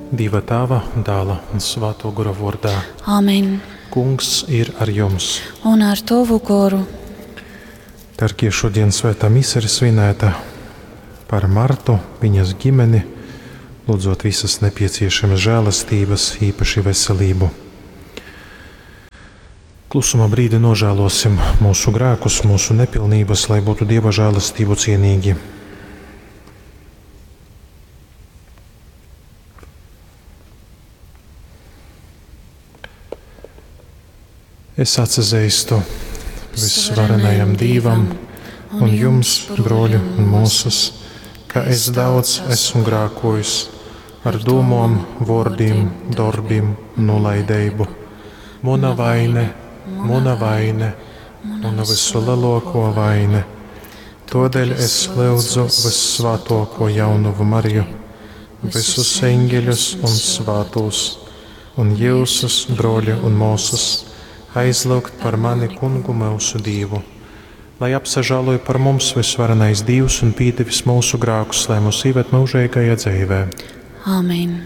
Dieva Tēva, Dēla un Svēto Gora vārdā. Amen. Kungs ir ar jums. Un ar tavu goru. Darbie, šodien svētā mise ir svinēta par Martu, viņas ģimeni, lūdzot visas nepieciešamas žēlastības, īpaši veselību. Klusuma brīdi nožēlosim mūsu grēkus, mūsu nepilnības, lai būtu Dieva žēlastību cienīgi. Es atzīstu visvarenajam Dievam un jums, broļi un mūsas, ka es daudz esmu grēkojis ar domām, vārdiem, darbiem un nolaidību. Mana vaine, mana vaine, mana visu lielāko vaine. Todēļ es lūdzu vissvētāko jaunavu Mariju, visus eņģeļus un svētos, un jūsus, broļi un mūsas, aizlūgt par mani kungu mūsu Dievu. Lai apsažāloja par mums visvarenais Dievs un pīdevis mūsu grēkus, lai mūs ieved mūžīgajā dzīvē. Amen.